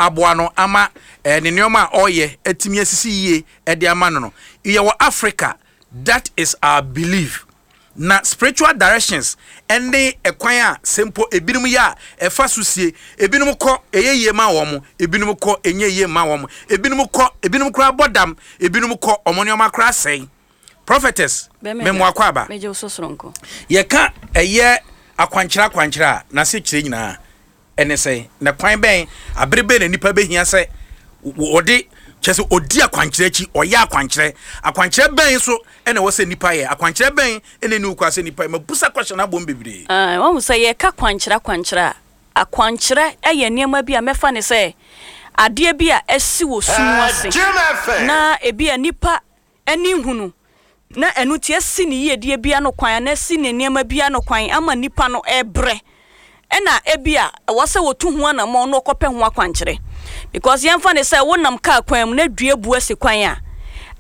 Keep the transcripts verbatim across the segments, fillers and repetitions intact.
Aboa no ama eh, ne nneɛma a ɔreyɛ atumi asisi yie ɛde ama no no Yɛwɔ Africa, that is our belief. Na spiritual directions ɛne ɛkwan a sɛ mpo ebinom yɛ a ɛfa so sie, ebinom kɔ ɛyɛ yie ma wɔn, ebinom kɔ ɛnyɛ yie ma wɔn, ebinom kɔ, ebinom koraa bɔ dam, ebinom kɔ, ɔmo nneɛma koraa sɛn. Prophetess, mɛmo akɔ aba. Megye wo so soronko. Yɛka ɛyɛ akwankyerɛ akwankyerɛ a, n'ase kyerɛ nyinaa ɛne sɛ, na kwan bɛn, abere bɛn na nipa bɛhia sɛ wɔde kyerɛ sɛ ɔdi akwankyerɛ akyi, ɔyɛ akwankyerɛ? Akwankyerɛ bɛn so ɛna ɛwɔ sɛ nipa yɛ? Akwankyerɛ bɛn ɛna ɛni wokɔ sɛ nipa yɛ? Mabusa question abom bebree. Ah, wahu sɛ yɛka kwankyerɛ akwankyerɛ a, akwankyerɛ yɛ nneɛma bi a mɛfa ne sɛ adeɛ bi a ɛsi wɔ sum ase na ebi a nipa ani hunu na ɛno ti asi ne yiedie bia no kwan anaa asi ne nneɛma bia no kwan ama nipa no ɛbrɛ, ɛna ebi a ɛwɔ sɛ wɔtu ho anammɔn na ɔkɔpɛ ho akwankyerɛ. Because yɛmfa ne sɛ wonam kaa kwan mu na dua bu asi kwan a,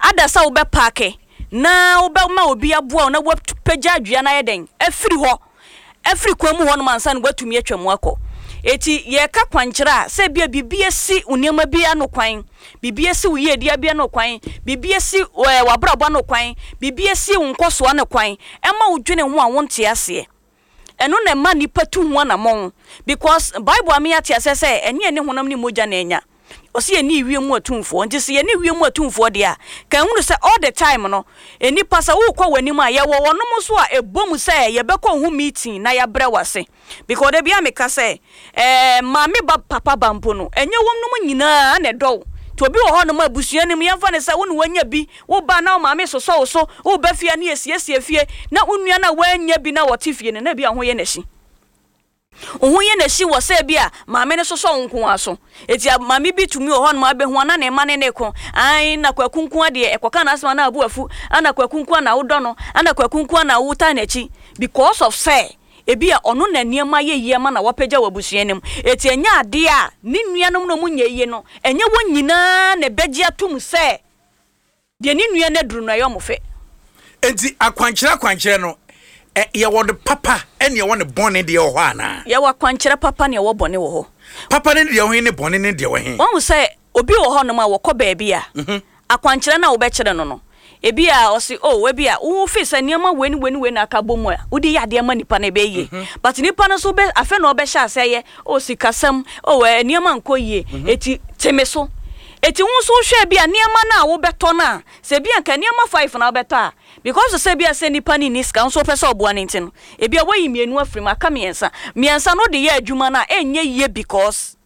ada sɛ wobɛpark na wobɛma obi aboa wo na wapagya dua no ayɛ dɛn afiri hɔ, afiri kwan mu hɔnom ansa na woatumi atwa mu akɔ. Eti yɛka kwankyerɛ a, sɛ bia biribi asi wo nneɛma bi ano kwan, biribi asi wo yiedie bi ano kwan, biribi asi ɛɛ w'abrabɔ ano kwan, biribi asi wo nkɔsoɔ ano kwan, ɛma wo dwene ho a wonte aseɛ, ɛno na ɛma nipa tu ho anammɔn. Because Bible ame ate aseɛ sɛ ɛne ɛne honam ne mogya na ɛnya, ɔsi yɛne wiem mu atumfoɔ. Nti sɛ yɛne wiem mu atumfoɔ deɛ a, ka ehunu sɛ all the time no, nipa sɛ wokɔ w'anim a, yɛwɔ wɔnom nso a ɛbɔ mu sɛ yɛbɛkɔ ho meeting na yɛabrɛ w'ase. Because de bia meka sɛ ɛɛ maame ba, papa ba mpo no, ɛnyɛ wɔn nom nyinaa na ɛdɔw. Nti obi wɔ hɔnom a abusua no mu, yɛmfa ne sɛ wo ne wanya bi, woba na wo maame sosɔ wo so, woba fie ne yɛsiesie fie, na wo nua no a woanya bi na wɔte fie no, na bi a ho yɛ n'akyi, wo ho yɛ n'akyi wɔ sɛ bi a maame no sosɔ wo nko ara so. Eti maame bi tumi wɔ hɔnom abɛhu ana ne mma ne ne ko ae na Kwaku nko adeɛ ɛkɔka n'asɛm ana abu afu, ana Kwaku nko na wodɔ no, ana Kwaku nko na wota n'akyi, because of sɛ ebi a ɔno na nneɛma yɛ yie ama na wapagya wɔ abusua no mu. Eti ɛnyɛ adeɛ a ne nuanom no mu nyɛ yie no, ɛnyɛ wɔn nyinaa na ɛbɛgye atum sɛ deɛ ne nua no aduru no ɛyɛ ɔmo fɛ. Enti akwankyerɛ akwankyerɛ no, ɛ yɛwɔ no papa ɛne yɛwɔ ne bɔne deɛ wɔ hɔ anaa? Yɛwɔ akwankyerɛ papa ne ɛwɔ bɔne wɔ hɔ. Papa ne deɛ wɔ he ne bɔne ne deɛ wɔ he? Wɔn sɛ obi wɔ hɔnom a wɔkɔ baabi a, akwankyerɛ no a wobɛkyerɛ no no ebi a ɔsi o, ebi a wo fi sɛ nneɛma wei ne wei ne wei na aka bɔ mu a wode yɛ adeɛ ma nipa no, ɛbɛyɛ yie. But nipa no nso bɛ afɛ na ɔbɛhyɛ ase yɛ o, sikasɛm o, ɛ nneɛma nkɔ yie, eti teme so. Eti wo nso hwɛ bi a nneɛma no a wobɛtɔ no a, sɛ ebi anka nneɛma five na wobɛtɔ a, because sɛ bi a sɛ nipa no ni sika nso wopɛ sɛ ɔboa ne nti no, ebi a wayi mmienu afiri mu, aka mmiɛnsa. Mmiɛnsa no wode yɛ adwuma no a, ɛnyɛ yie, because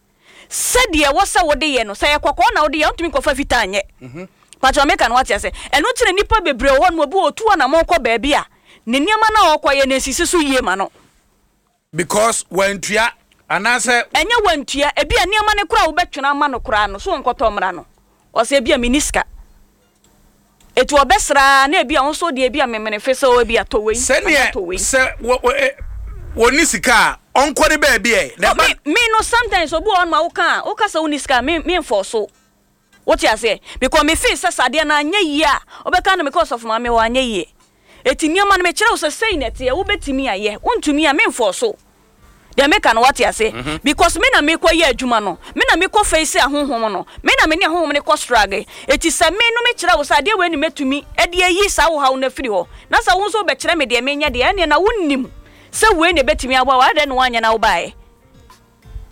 sɛdeɛ ɛwɔ sɛ wode yɛ no, sɛ yɛ kɔkɔɔ na wode yɛ, wontumi nkɔfa fitaa nyɛ. Patro, meka no wate ase. Ɛno nti na nipa bebree wɔ hɔ no, obi wɔ otu anammɔn kɔ baabi a, ne nneɛma no a ɔkɔyɛ no nsisi so yie ma no. Because wantua anaasɛ? Ɛnyɛ wantua. Ebi a nneɛma no koraa a wobɛtwena ama no koraa no so, wɔnkɔtɔ mmra no, ɔsɛ ebi a menni sika. Etu ɔbɛsraa na ebi a wo nso deɛ, ebi a memene fe sɛ ebi a tɔ wei anaa Sɛneɛ tɔ wei. Sɛ wɔ wɔ ɛ wɔni sika a, ɔnkɔ ne baabi ɛ na Oh, ɛba. me me no, sometimes obi wɔ hɔ nom a woka a, woka sɛ wonni sika a, me memfɔ so, wote aseɛ? Because me feel sɛ sadeɛ no anyɛ yie a, wobɛka no mekɔ ɔsɔfo maame hɔ, anyɛ yie. Eti nneɛma no mekyerɛ wo sɛ sei na ɛteɛ, wobɛtumi ayɛ, wontumi a, memfɔ so. Deɛ meka no wate ase? Because me na mekɔ yɛ adwuma no, me na mekɔ face ahohom no, me na me ne ahohom no kɔ struggle. Eti sɛ me no mekyerɛ wo sɛ adeɛ wei ne mɛtumi ɛde ayi saa wo haw no afiri hɔ, na sɛ wo nso wobɛkyerɛ me deɛ menyɛ deɛ, ɛneɛ na wonnim sɛ wei na ɛbɛtumi aboa wo, adɛn na woanyɛ na wobaeɛ?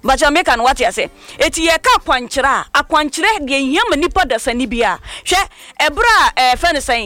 Bakyɛ, meka no wate ase? Eti yɛka akwankyerɛ a, akwankyerɛ deɛ nhia ma nipa dasani bi a, hwɛ ɛberɛ a ɛfɛ no sɛn.